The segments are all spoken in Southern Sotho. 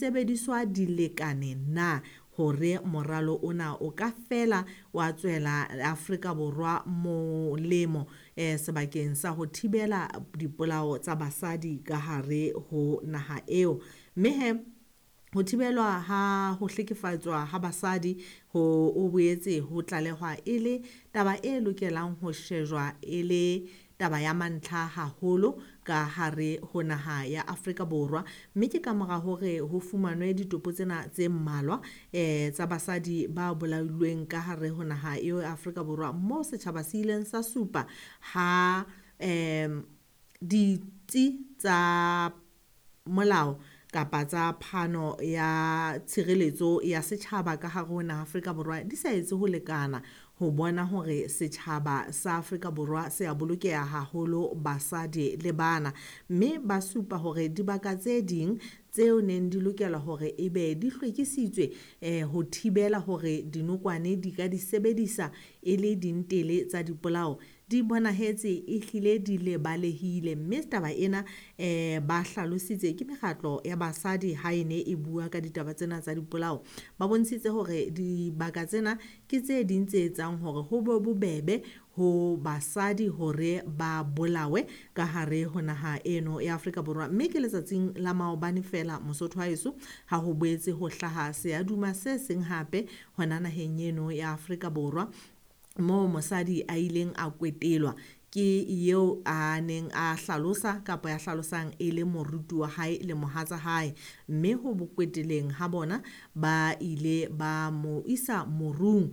Disebediswa di lekane na hore moralo ona o ka fela wa tswela Afrika Borwa molemo sebakeng sa ho thibela dipolao tsa basadi ka hare ho naha eo. Mme he ho thibelwa ha ho hlekefatswa ha basadi ho o boetse ho tlalehwa e le taba e lokelang ho shejwa e le taba ya mantlha haholo ka hare ho naha ya Afrika Borwa. Mme ke ka mora hore ho fumanwe ditopo tsena tse mmalwa tsa basadi ba bolailweng ka hare ho naha eo ya Afrika Borwa, moo setjhaba se ileng sa supa ha ditsi tsa molao kapa tsa phano ya tshireletso ya setjhaba ka hare ho naha Afrika Borwa di sa etse ho lekana ho bona hore setjhaba sa Afrika Borwa se a bolokeha haholo basadi le bana. Mme ba supa hore dibaka tse ding tseo neng di lokela hore ebe di hlwekisitswe ho thibela hore dinokwane di ka di sebedisa e le dintele tsa dipolao, di bonahetse ehlile di lebalehile. Mme taba ena ba hlalositse ke mekgatlo ya basadi ha e ne e bua ka ditaba tsena tsa dipolao. Ba bontshitse hore dibaka tsena ke tse ding tse etsang hore ho be bobebe ho basadi hore ba bolawe ka hare ho naha eno ya Afrika Borwa. Mme ke letsatsing la maobane fela Mosotho wa heso ha ho boetse ho hlaha seaduma se seng hape hona naheng eno ya Afrika Borwa, moo mosadi a ileng a kwetelwa ke eo a neng a hlalosa kapa ya hlalosang e le moruti wa hae le mohatsa hae. Mme ho bokweteleng ha bona ba ile ba mo isa morung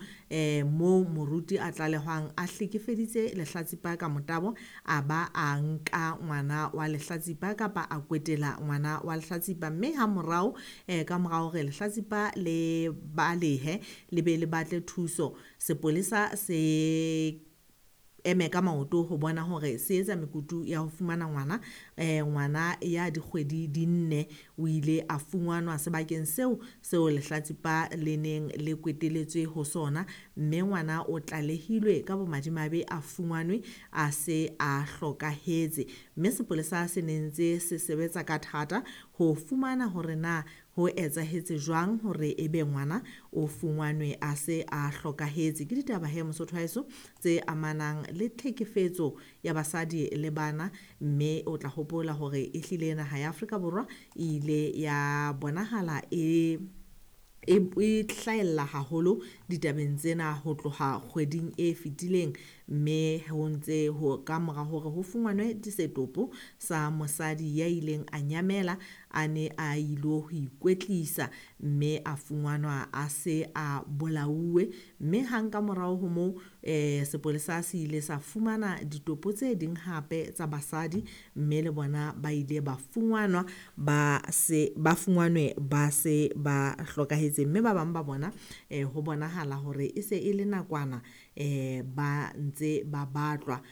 moo moruti a tlalehwang a hlekefeditse lehlatsipa ka motabo, a ba a nka ngwana wa lehlatsipa kapa a kwetela ngwana wa lehlatsipa. Mme ha morao ka mora hore lehlatsipa le balehe le be le batle thuso, sepolesa se eme ka maoto ho bona hore se etsa mekutu ya ho fumana ngwana. Ngwana ya dikgwedi di 4 o ile a fumanwa sebakeng seo seo lehlatsipa le neng le kweteletswe ho sona, mme ngwana o tlalehilwe ka bomadimabe a fumanwe a se a hlokahetse. Mme sepolesa se ne ntse se sebetsa ka thata ho fumana hore na ho etsahetse jwang hore ebe ngwana o fumanwe a se a hlokahetse. Ke ditaba he Mosotho wa heso tse amanang le tlhekefetso ya basadi le bana, mme o tla hopola hore ehlile naha ya Afrika Borwa e ile ya bonahala e hlahella haholo ditabeng tsena ho tloha kgweding e fetileng. Mme ho ntse ho ka mora hore ho fumanwe setopo sa mosadi ya ileng a nyamela a ne a ilo ho ikwetlisa, mme a fumanwa a se a bolauwe. Mme hang ka morao ho moo sepolesa se ile sa fumana ditopo tse ding hape tsa basadi, mme le bona ba ile ba fumanwa ba se ba fumanwe ba se ba hlokahetse. Mme ba bang ba bona ho bonahala hore e se e le nakwana ba ntse ba batlwa,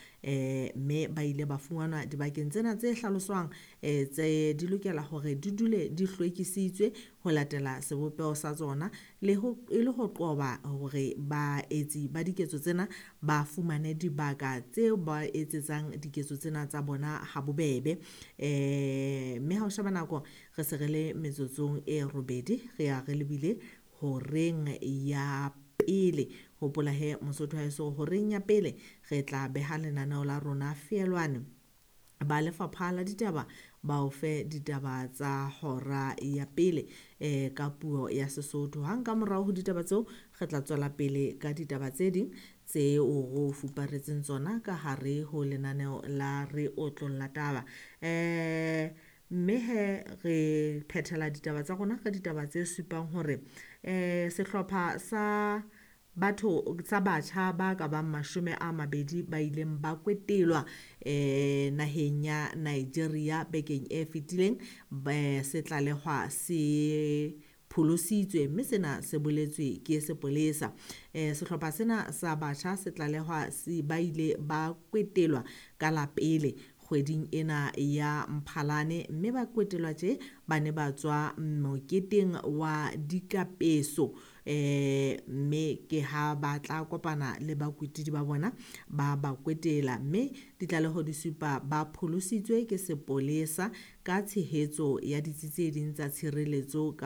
mme ba ile ba fumanwa dibakeng tsena tse hlaloswang tse di lokela hore di dule di hlwekisitswe ho latela sebopeho sa tsona, le ho e le ho qoba hore baetsi ba diketso tsena ba fumane dibaka tseo ba etsetsang diketso tsena tsa bona ha bobebe. Mme ha o sheba nako re se re le metsotsong e 8 re ya re lebile horeng ya pele. Hopola he Mosotho wa heso horeng ya pele re tla beha lenaneo la rona feelwane ba lefapha la ditaba ba o fe ditaba tsa hora ya pele ka puo ya Sesotho. Hang ka morao ho ditaba tseo re tla tswela pele ka ditaba tse ding tseo re o fuparetseng tsona ka hare ho lenaneo la re otlolla taba. Mme he re phethela ditaba tsa rona ka ditaba tse supang hore sehlopha sa batho sa batjha ba ka bang 20 ba ileng ba kwetelwa naheng ya Nigeria bekeng e fetileng, se tlalehwa se pholositswe, mme sena se boletswe ke sepolesa. Sehlopha sena sa batjha se tlalehwa ba ile ba kwetelwa ka la pele kgweding ena ya Mphalane, mme ba kwetelwa tje ba ne ba tswa moketeng wa dikapeso, mme ke ha ba tla kopana le bakwetidi ba bona ba ba kwetela. Mme ditlaleho di supa ba pholositswe ke sepolesa ka tshehetso ya ditsi tse ding tsa tshireletso.